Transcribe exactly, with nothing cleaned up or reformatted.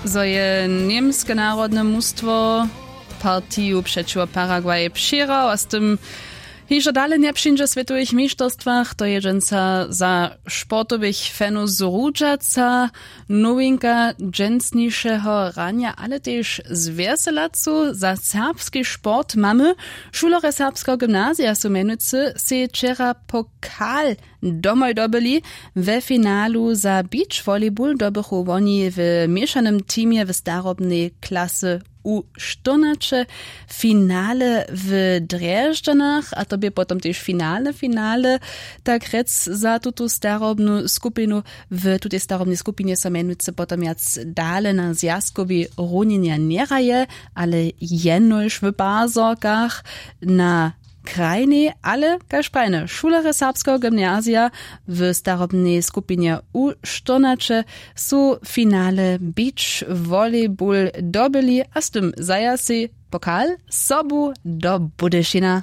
Zo je němske narodne mustwo partiju přećiwo Paraguay přěhrał a z tym hižo dale njepřińdźe w swětowych mišterstwach, to je dźensa za sportowych fanow zrudźaca nowinka dźensnišeho ranja, ale tež z wjeselacu za serbski sport mamy. Šulerje serbskeho gymnazija su mjenujcy sej wčera pokal domoj dobyli. We finalu za beach volleyball dobychu woni w měšanym teamje w starobnej klasy u štyrnaće finale w drježdźanach, a to bě potom tež finalne finale, tak rjec, za tutu starobnu skupinu. W tutej starobnej skupinje so mjenujcy potom wjac dale na zwjazkowej runjenje njehraje, ale jenož w pazorkach na krajnej, ale kaž prajne šulerje serbskeho gymnazija w starobnej skupinje u štyrnaće su finale beach volleyball dobyli a z tym zajasej pokal sobu do Budyšina.